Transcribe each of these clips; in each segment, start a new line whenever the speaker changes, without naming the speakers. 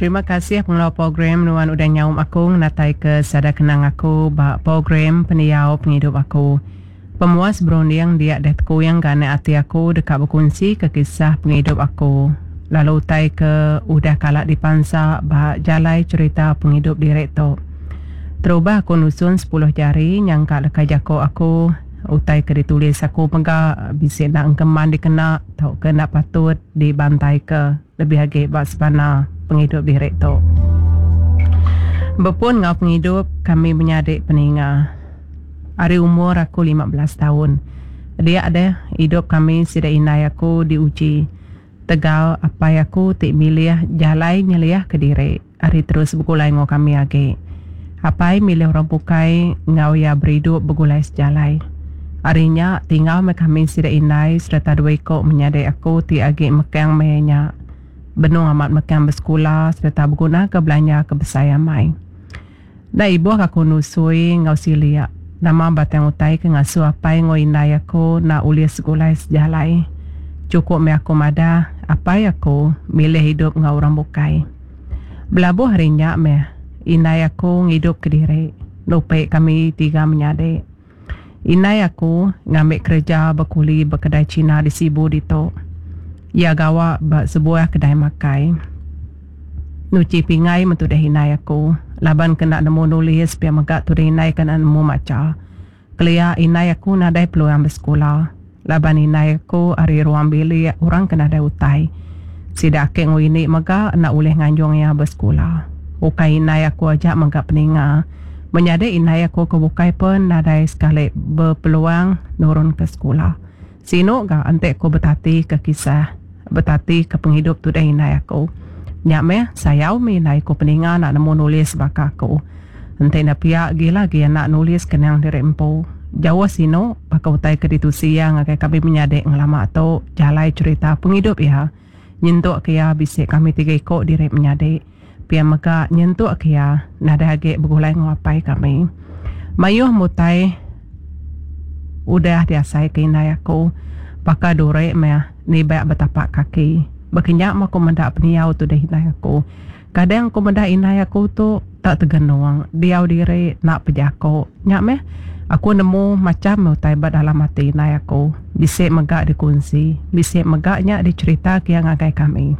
Terima kasih pengelau program nuan udah nyaum aku ngenatai ke sada kenang aku ba program pendiau pengidup aku. Pemuas berunding dia deh tekuing ga anak ati aku deka bekunsi ke kisah pengidup aku lalu utai ke udah kala dipansa ba jalai cherita pengidup diri tu. Terubah aku nusun sepuluh jari nyangka leka jako aku utai ke ditulis aku mega bisi enda engkeman dikena tauka enda patut dibantaika lebih agi ba sebana pengidup diri tu. Bepun enggau pengidup kami menyadi peninga ari umur aku 15 taun dia deh idup kami sida indai aku diuji tegal apai aku ti milih jalai nyeliahka diri ari terus begulai enggau kami agi. Apai milih orang bukai enggau iya beridup begulai sejalai. Ari nya tinggal meh kami sida indai sereta dua iku menyadi aku ti agi mekang maya nya benung amat mekang besekula sereta begunaka belanja ke besai amai. Enda ibuh aku nusui enggau silik nama batang utai ke ngasuh apai enggau indai aku enda ulih segulai sejalai. Chukup meh aku madah apai aku milih idup enggau orang bukai. Belabuh ari nya meh indai aku ngidup kediri nupi kami tiga menyadi. Indai aku ngambi kereja bekuli ba kedai Cina di Sibu ditu. Iya gawa ba sebuah kedai makai. Nuchi pingai meh tudah indai aku laban ke enda nemu nulis pia mega tudah indai ke enda nemu macha. Kelia indai aku nadai peluang besekula laban indai aku ari ruang bilik orang ke nadai utai. Sida aki enggau ini mega enda ulih nganjung iya besekula. Ukai indai aku aja mega peninga. Menyadi indai aku ke bukai pen nadai sekali bepeluang nurun ke sekula. Sinu ga enti aku betati ke kisah, betati ke pengidup tudah indai aku. Nya meh, sayau meh indai aku peninga enda nemu nulis baka aku. Enti enda pia gila agi anak nulis kenang diri empu. Jauh sinu baka utai ke ditusi iya ngagai kami menyadi ngelama tu jalai cherita pengidup iya nyentuk ke iya bisi kami tiga iku diri menyadi. Pia mega nyentuk ke iya nadai agi begulai enggau apai kami. Mayuh mutai udah diasai ke indai aku baka duri meh nibak betapak kaki. Baka nya meh aku meda pendiau tudah indai aku. Kadang aku meda indai aku tu tak tegenung diau diri enda pejako. Nya meh aku nemu macham meh utai ba dalam ati indai aku. Bisi mega dikunsi, bisi mega nya dicherita ke iya ngagai kami.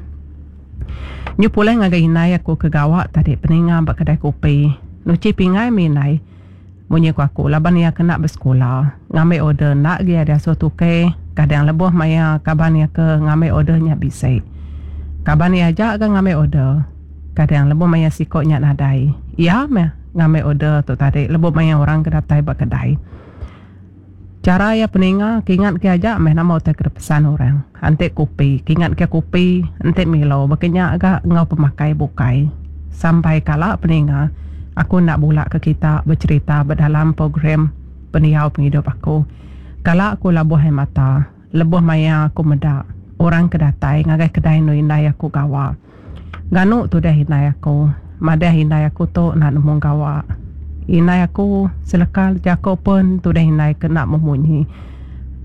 Nyu pulai ngagai indai aku ke gawa tadi peninga ba kedai kopi. Nuchi pinggai mih indai. Munyi ku aku laban iya kena besekula. Ngambi order enda agi iya diasuh tukei kadang lebuh maya kaban iya ke ngambi order nya bisi. Kaban iya aja ga ngambi order. Kadang lebuh maya siko nya nadai. Iya meh ngambi order tu tadi lebuh maya orang ke datai ba kedai. Chara iya peninga ke ingat ke aja meh nama utai ke dipesan orang. Enti kopi, ke ingat ke kopi, enti milo baka nya ga enggau pemakai bukai. Sampai kala peninga, aku enda bula ke kita becherita ba dalam program pendiau pengidup aku. Kala aku labuh ai mata lebuh maya aku meda orang ke datai ngagai kedai endur indai aku gawa. Nganu tudah indai aku. Madah indai aku tu enda nemu gawa. Indai aku seleka jako pun tudah indai ke enda memunyi.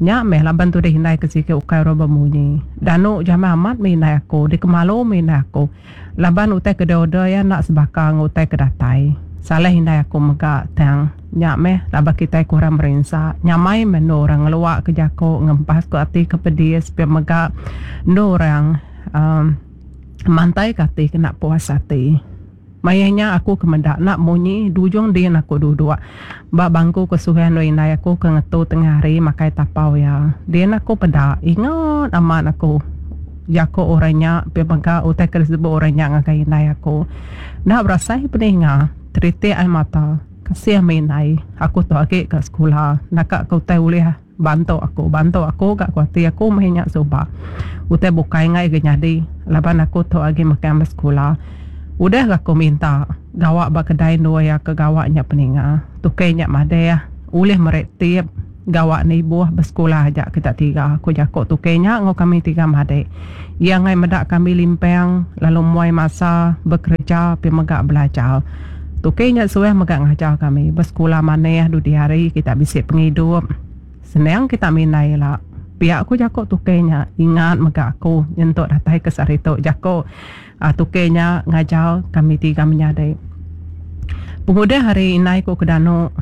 Nya meh laban tudah indai ke sigi ukai orang bemunyi. Danu jamah amat meh indai aku, dikemalu meh indai aku. Laban utai ke diorder iya enda sebaka enggau utai ke datai. Salah indai aku mega tang nya meh laban kitai kurang merinsa. Nyamai meh endur orang ngelua ke jako ngempas ke ati ke pedis pia mega endur orang uhh mantai ke ati kena puas ati. Maya nya aku ke meda enda munyi dujung din aku duduk ba bangku ke suah endur indai aku ke ngetu tengah hari makai tapau iya. Din aku peda ingat amat aku jaku orang nya pia mega utai ke disebut orang nya ngagai indai aku. Enda berasai peninga teritik ai mata kasih meh indai aku tu agi ka sekula naka ke utai ulih. Bantu aku, bantu aku ga ku ati aku meh nya suba. Utai bukai enggai ga nyadi laban aku tu agi mekang besekula. Udah ga aku minta gawa ba kedai endur iya ke gawa nya peninga. Tukey nya madeh ulih meri tip gawa nibuh besekula aja kita tiga ku jaku tukey nya enggau kami tiga madik. Iya enggai meda kami limpang lalu muai masa bekereja pi mega belajar. Tukey nya suah mega ngajar kami besekula manih dudi hari kita bisi pengidup. Senang kita mindai ila. Pia ku jaku tukey nya. Ingat mega aku nyentuk datai ke sehari tu jaku tukey nya ngajar kami tiga menyadi. Pengudah hari indai ku ke danu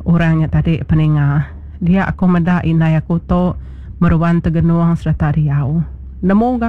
orang nya tadi peninga dia aku meda indai aku tu meruan tegenung sereta diau. Nemu ga.